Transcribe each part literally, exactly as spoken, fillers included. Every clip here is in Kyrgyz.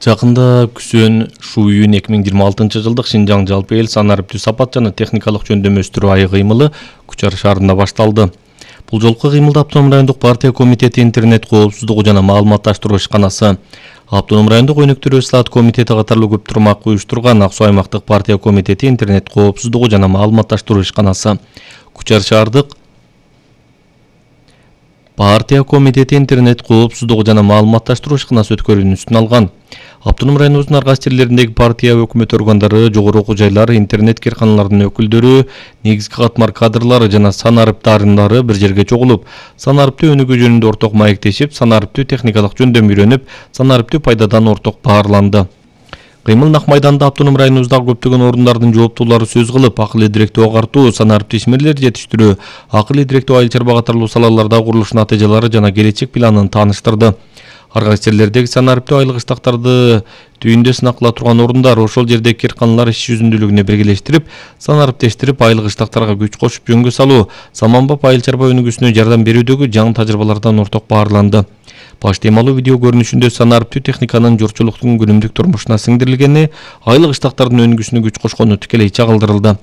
Жакында Күсөн Шуюн эки миң жыйырма алтынчы жылдык Шинжаң жалпы эл санариптүү сапат жана техникалык жөндөм өстүрүү айы кыймылы Кучар шаарында башталды. Бул жолку кыймылда Автоном райондук партия комитети интернет коопсуздугу жана маалыматташтыруу ишканасы, Автоном райондук өнүктүрүү ислаат комитети катарлуу көп турмак уюштурган Ак Суу аймактык партия комитети интернет коопсуздугу жана маалыматташтыруу ишканасы, Кучар шаардык партия комитети интернет коопсуздугу жана маалыматташтыруу ишканасы өткөрүүнүн алган. Автоном районубуздун ар кайсы жерлериндеги партия өкмөт органдары, жогору окуу жайлар, интернет кирканаларынын өкүлдөрү, негизги катмар кадрлары жана санарип дарындары бир жерге чогулуп, санариптүү өнүгүү жөнүндө орток маектешип, санариптүү техникалык жөндөм үйрөнүп, санариптүү пайдадан орток баарланды. Кыймыл Нак майданда Автоном районубуздагы көптөгөн орундардын жооптуулары сөз кылып, акыл идиректүү агартуу, санариптүү ишмерлерди жетиштирүү, акыл идиректүү айыл чарба катарлуу салаларда курулуш натыйжалары жана келечек планын тааныштырды. Ар кайсы жерлердеги санариптүү айыл кыштактарды түйүндө сынак кыла турган орундар ошол жердеги кирканалар иш жүзүндүүлүгүнө биргелештирип, санариптештирип, айыл кыштактарга күч кошуп жөнгө салуу, саманбап айыл чарба өнүгүүсүнө жардам берүүдөгү жаңы тажрыйбалардан орток баарланды. Баш темалуу видео көрүнүшүндө санариптүү техниканын журтчулуктун күнүмдүк турмушуна сиңдирилгени, айыл кыштактардын өнүгүүсүнө күч кошкону тикелей чагылдырылды.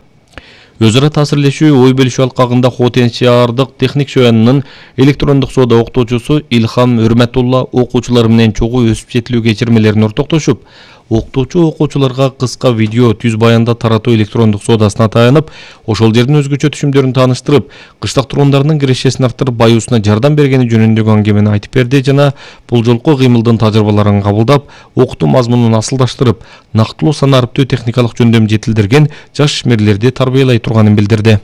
Өз ара таасирлешүү, ой бөлүшүү алкагында Хотен шаардык техник шоянынын электрондук соода окутуучусу Илхам Өрмөтулла окуучулар менен чогуу өсүп жетилүү кечирмелерин ортоктошуп, окутуучу окуучуларга кыска видео түз баянда таратуу электрондук соодасына таянып, ошол жердин өзгөчө түшүмдөрүн тааныштырып, кыштак тургундарынын кирешесин арттырып, баюусуна жардам бергени жөнүндөгү аңгемени айтып берди жана бул жолку кыймылдын тажрыйбаларын кабылдап, окутуу мазмунун асылдаштырып, нактылуу санариптүү техникалык жөндөм жетилдирген жаш ишмерлерди тарбиялай турганын билдирди.